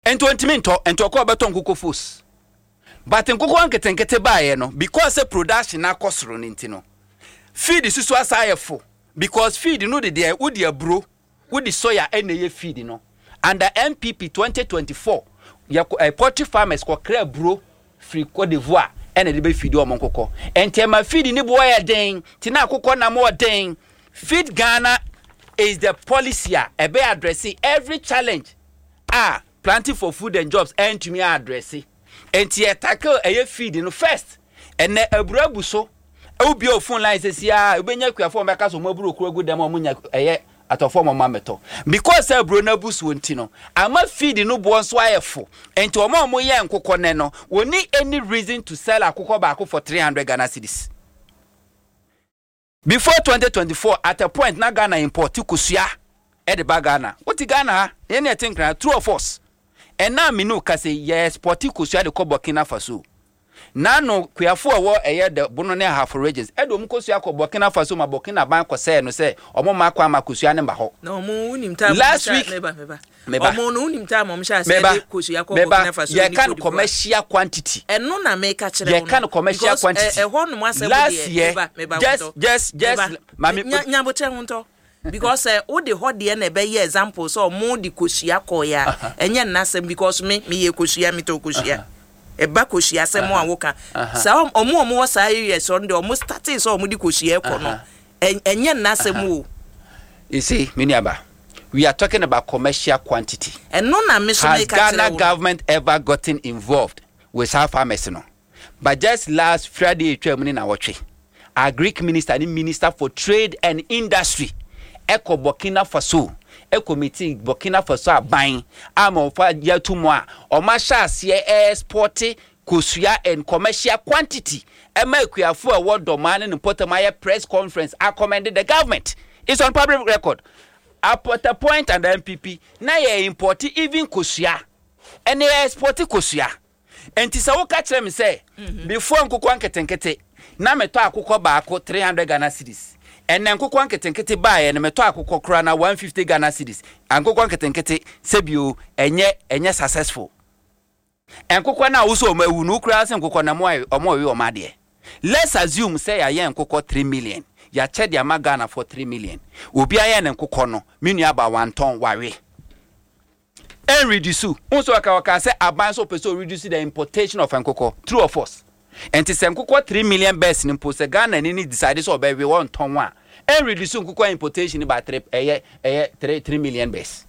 Nti ɔntumi ntɔ, nti ɔkɔ ɔbɛtɔ nkokɔ fos. But nkokɔ nketenkete baeɛ no, because sɛ production no akɔ soro no nti no, feed susu asa ayɛ fo, because feed no de deɛ wode aburo, wode soya ɛna ɛyɛ feed no. Under NPP 2024, yɛ poultry farmers kɔkra aburo firi Cote d'Ivoire ɛna ɛde bɛ feed wɔn nkokɔ. Nti ɛma feed ne boɔ yɛ den, nti na akokɔ nam wɔ den. Feed Ghana is the policy a ɛbɛ address every challenge a Planting for Food and Jobs ɛntumi address. Nti yɛ tackle ɛyɛ feed no first. Ɛnɛ aburo abu so. Wobie wo phone line sɛsi a, wobɛnya akuafoɔ a wɔbɛka sɛ wɔn aburo koro agu dɛm a wɔn nya ɛyɛ atɔfoɔ ma wɔn amɛtɔ. Because sɛ aburo no abu soɔ nti no, ama feed no boɔ nso ayɛ fo. Nti wɔn a wɔyɛ nkokɔ nɛ no, wɔnni any reason to sell akokɔ baako for 300 Ghana cedis. Before 2024, at a point na Ghana import kosua de ba Ghana. Wote Ghana ha, yɛn ne yɛte Nkran, true or false? Ɛnnɛ a me ne wo kasa yi, yɛ export kosua de kɔ Burkina Faso. N'ano, kuafo a ɛwɔ ɛyɛ the Bono ne Ahafo regions de wɔn kosua kɔ Burkina Faso ma Burkina ban kɔsɛɛ no sɛ wɔn mma kwan ma kosua no mma hɔ. Na wɔn wonim time Last wɔn week, hyɛ meba meba. meba. Wɔn no wonim time wɔn hyɛ aseɛ Meba, de kosua kɔ meba, Burkina Faso ne yɛka no Cote d'Ivoire. commercial quantity. Ɛno na meka kyerɛ wo Yɛka no no commercial because ɛ quantity. ɛhɔ nom asɛm Last deɛ year, meba meba just Wontɔ just just meba maame nya nyabotrɛ Wontɔ because sɛ wode hɔ deɛ na ɛbɛyɛ example sɛ ɔmo de kosua kɔeɛ a, ɛnyɛ nnasɛm because me meyɛ kosua, metɔ kosua. Ɛba kosua asɛm a woka saa, ɔmo a ɔmo wɔ saa areas hɔ no deɛ, ɔmo startee sɛ ɔmo de kosua kɔ no, ɛnyɛ nnasɛm o. You see, me nuaba, we are talking about commercial quantity. Ɛno na me so Has meka kyerɛ Ghana wo no. government ever gotten involved with saa farmers no? But just last Friday a etwaa mu ne nawɔtwe, Agric minister ne minister for trade and industry kɔ Burkina Faso kɔ meeting Burkina Faso aban ama wɔfa gye ato mu a wɔahyɛ aseɛ ɛɛspɔte kosua in commercial quantity ɛma akuafo a ɛwɔ Dɔmaa ne ne mpɔtam ayɛ press conference akɔmɛnde the government. It's on public record. At a point under NPP na yɛ importe even kosua ɛne yɛ exporte kosua. Enti sɛ woka kyerɛ me sɛ before nkokɔ nketenkete na metɔ akokɔ baako 300 Ghana cedis, ɛnnɛ nkokɔ nketenkete baeɛ no metɔ akokɔ koraa na 150 Ghana cedis, ankokɔ nketenkete sɛbio ɛnyɛ ɛnyɛ successful. Nkokɔ no a wosɛ wɔn awu no wo koraa sɛ nkokɔ no wɔn wɔwe wɔn adeɛ. Let's assume sɛ yɛayɛ nkokɔ 3 million, yɛakyɛ de ama Ghanafoɔ 3 million. Obi ayɛ ne nkokɔ no, me nua baa wantɔn, wawe. Ɛnredusu. Wohu sɛ ɔka ɔkaa sɛ aban sɛ ɔpɛ sɛ ɔreduce the importation of nkokɔ. True or false? Ɛnti sɛ nkokɔ 3 million birds no mpo, sɛ Ghana ni no decide sɛ ɔbɛwe, ɔntɔn a, ɛnreduce nkokɔ importation no by three, ɛyɛ ɛyɛ 3 3 million birds.